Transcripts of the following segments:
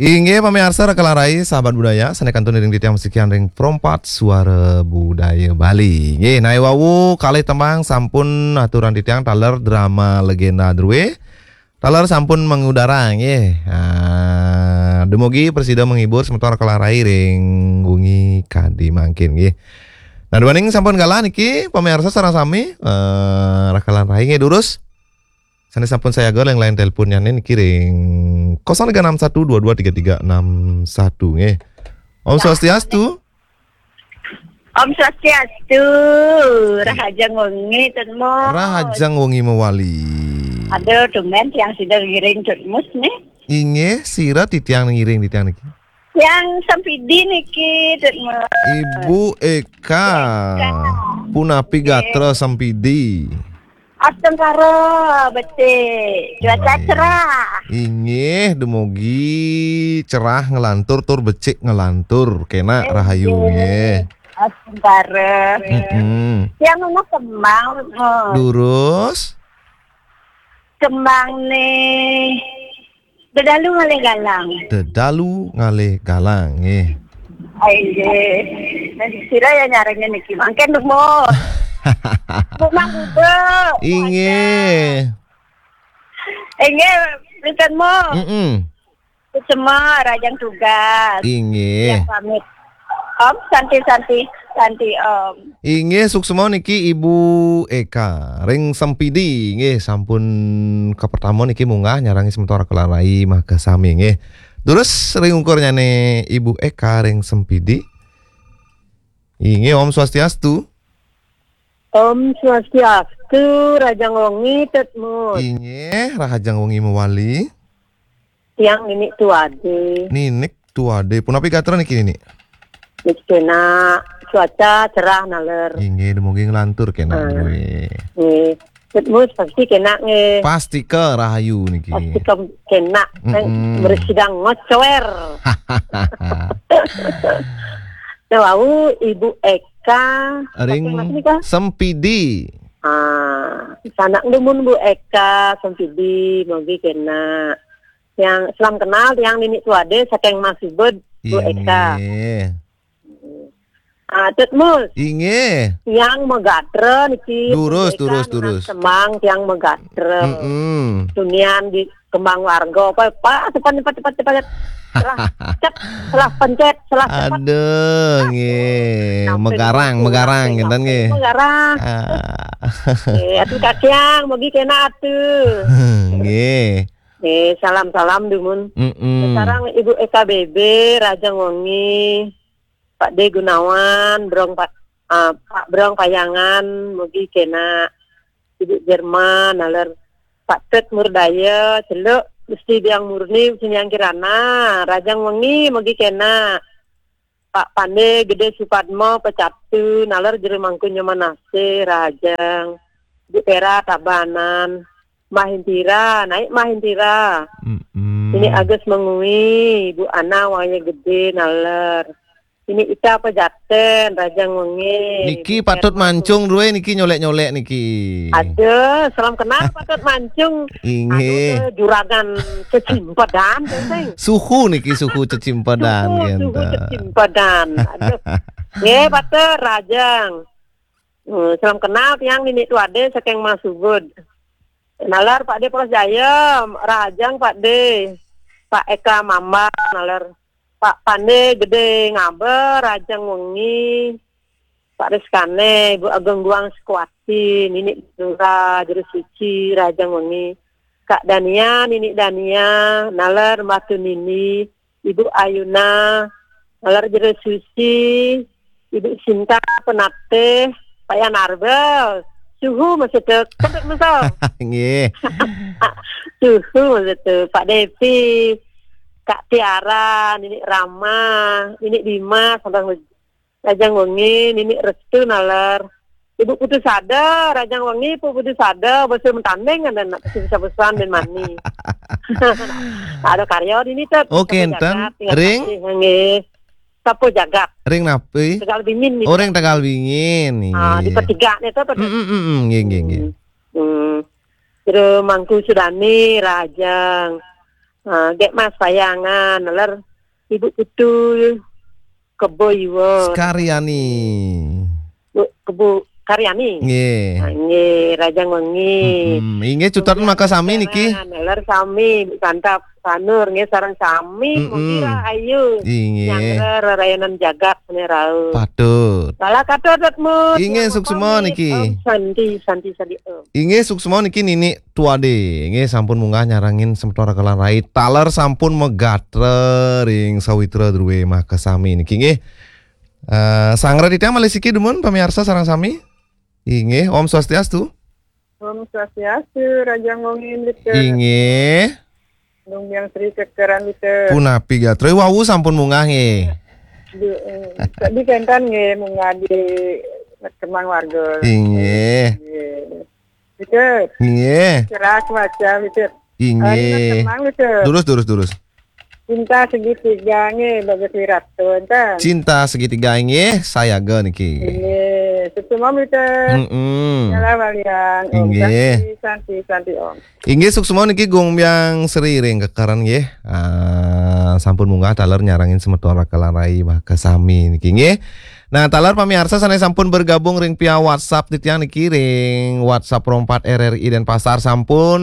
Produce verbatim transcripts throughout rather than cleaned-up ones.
Inggih pamiarsa Raka lan Rai, sahabat budaya, sané kantun iring titiang masikian ring Perempat Suara Budaya Bali. Inggih, naé wau kalih tembang sampun aturan titiang taler drama Legenda Drué. Taler sampun mengudara nggih. Ah, dumugi prasida menghibur semeton Raka lan Rai ring wengi kadi mangkin nggih. Nah, duaning sampun galah niki pamiarsa sareng sami, eh, Raka lan Rai nggih durus. Sané sampun sayaga ring line teleponnya niki ring kosong tiga enam satu dua dua tiga tiga enam satu nggih. Om Swastiastu. Om Swastiastu. Rahajeng wengi, Tut Mus. Rahajeng wengi mawali. Aduh, tumben tiang sida ngiring, Tut Mus, nih. Inggih, sira titiang ngiring titiang niki? Tiang Sempidi niki, Tut Mus. Ibu Eka. Eka. Punapi gatra Sempidi? Astungkara, becik. Cuaca cerah. Inggih, dumugi cerah nglantur tur becik nglantur. Kénak rahayu nggih. Astungkara. Mm-mm. Tiang nunas kembang, Tut Mus. Durus. Kembang nih. Dedalu ngalih galang. Dedalu ngalih galang, nggih. Inggih. Nah, sira ya nyarengin niki. Mangkin nemu. Bunga buduk. Inggih. Inggih, Tut Mus. Mm-mm. Suksma, rahajeng tugas. Inggih. Ya, pamit. Om, santi, santi, santi, Om. Inggih, suksma niki Ibu Eka ring Sempidi nggih, sampun kapertama niki munggah nyarengi semeton Raka lan Rai makasami nggih. Durus ring ungkurnyané Ibu Eka ring Sempidi. Inggih, Om Swastiastu. Om Swastiastu, rahajeng wengi, Tut Mus. Inggih, rahajeng wengi mawali. Tiang Ninik Tuade. Ninik Tuade. Punapi gatra niki, Ninik? Niki kénak, cuaca cerah naler. Inggih, dumugi nglantur kénak. Ah. Nggih. Nggih. Tut Mus pasti kénak nggih. Pastika rahayu niki. Pastika kénak. Mm-mm. Mresidang ngocoér. Nah, wau Ibu Eka, ring saking mas nika? Sempidi. Ah, sanak dumun Bu Eka, Sempidi, mugi kénak. Tiang salam kenal, tiang Ninik Tuade saking Masubud, Bu Eka. Inggih. Ah, Tut Mus. Inggih. Tiang magatra niki, durus, Bu Eka durus, nunas durus. Kembang, tiang magatra. Mm-mm. Tunian di kembang warga, apa, apa, cepat, cepat, cepat, cepat. Salah, cep, salah pencet, salah cepat. Aduh, nggih. Sampai megarang, sampai megarang, sampai ngénten nggih. Megarang. Ah. Eh, atuh kakiang, mugi kénak atuh. Nggih. Eh, salam-salam dumun. Mm-mm. Sareng Ibu Eka B B, rahajeng wengi. Pak D Gunawan, Brong Pa-, ah, Pak Brong Payangan, mugi kénak. Ibu Jerman, naler Pak Tut Murdaya, Celuk, Gusti Biang Murni, Gusti Biang Kirana, rahajeng wengi, mugi kénak. Pak Pande Gedé Supadma, Pecatu, naler Jero Mangku Nyoman Asih, rahajeng. Ibu Tera Tabanan, Mbah Hintira, naik Mbah Hintira. Mm-mm. Ini Agus Mengui, Bu Ana Waya Gedé, naler. Ini Ita Pejaten, rahajeng wengi. Niki Bu patut Herman mancung dué niki nyolék-nyolék niki. Aduh, salam kenal patut mancung. Inggih. Aduh, juragan Cecimpedan, Teng. Suhu niki, suhu Cecimpedan, suhu, suhu ngénten. Cecimpedan. Aduh. Nggih, patut rahajeng. Hmm, salam kenal tiang Ninik Tuade saking Masubud. Naler Pak D Polos Jaya, rahajeng Pak D. Pak Eka Mamba, naler Pak Pande Gedé Ngaba, rahajeng wengi. Pak Rizkane, Ibu Ageng Guang Sekuati, Ninik Nura, Jero Suci, rahajeng wengi. Kak Dania, Ninik Dania, naler Mbah Tunini, Ibu Ayuna, naler Jero Suci, Ibu Sinta Penatih, Pak Yan Arbel, suhu masih tu, kentut mesel. Nggih. Suhu masih tu, Pak Devi, Kak Tiara, Ninik Rama, Ninik Dimas, sampai rahajeng wengi, Ninik Restu naler. Ibu Putu Sada, rahajeng wengi, Ibu Putu Sada, basa mentanding kan anak bisa pesan dan mani. Ada karya dini, Tut. Oke, Sapu enten. Jagat, ring? Kasih, nggih. Sapu jagat. Ring napi? Tegal Bingin nih. Oh, ring Tegal Bingin, ah, di nggih. Petiga nih, Tut. Mm, mm, mm, mm, nggih, nggih, nggih. Hmm. Hmm. Terus Mangku Sudani, rahajeng. Ah, Gék Mas Payangan, ler Ibu Putu, Kebo Iwa. Karyani. Bu, Kebu Karyani. Nggih. Ah, nggih, Rajang Wengi. Mm-mm. Inggih, cutet maka sami niki. Ler sami, Bu Santap Sanur, nggih, sareng sami, mm-mm, mugi rahayu. Inggih. Nyanggra rerayanan jagat, nih, rau. Patut. Lala katur, Dut Mut. Inggih, suksma niki. Om Santi, Santi, Santi, Om. Inggih, suksma niki Nini Tuade. Inggih, sampun munggah nyarengin semeton Rekalan Rai. Taler sampun magatra ring sawitra drué makasami niki, nggih. Eh, sanggra titiang malih siki dumun pamiarsa sareng sami. Inggih, Om Swastiastu. Om Swastiastu, Rajang Wengi, Mrika. Inggih. Nung Biang Sri Kekeran, Mrika. Punapi gatra? Wau sampun munggah, nggih. Du-, eh, tadi kénten nggih, munggah di Kemang Warga. Inggih. Nggih. Mrika. Nggih. Cerah cuaca, Mrika. Inggih. Ari Kemang, Mrika. Durus, durus, durus. Cinta Segitiga nggih, Bagus Wirata, enten. Cinta Segitiga nggih, sayaga niki. Nggih, suksma, Mrika. Mm-mm. Salam Balian. Om Inggih. Santi, Santi, Santi, Om. Inggih, suksma niki Gung Biang Sri ring Kekeran nggih. Ah, sampun munggah taler nyarengin semeton Rekalan Rai makasami niki, nggih. Nah, taler pamiarsa sané sampun bergabung ring via WhatsApp titiang niki ring WhatsApp Pro empat R R I Denpasar sampun,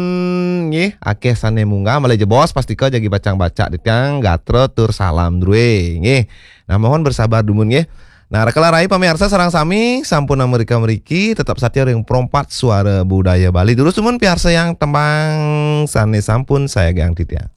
nggih, akéh sané munggah, malih jebos pastika jagi pacang baca titiang gatra tur salam drué, nggih. Nah, mohon bersabar dumun, nggih. Nah, Rekalan Rai pamiarsa sareng sami sampun amrika mriki, tetep satia ring Pro empat Suara Budaya Bali. Durus dumun piarsayang tembang sané sampun sayagiang titiang.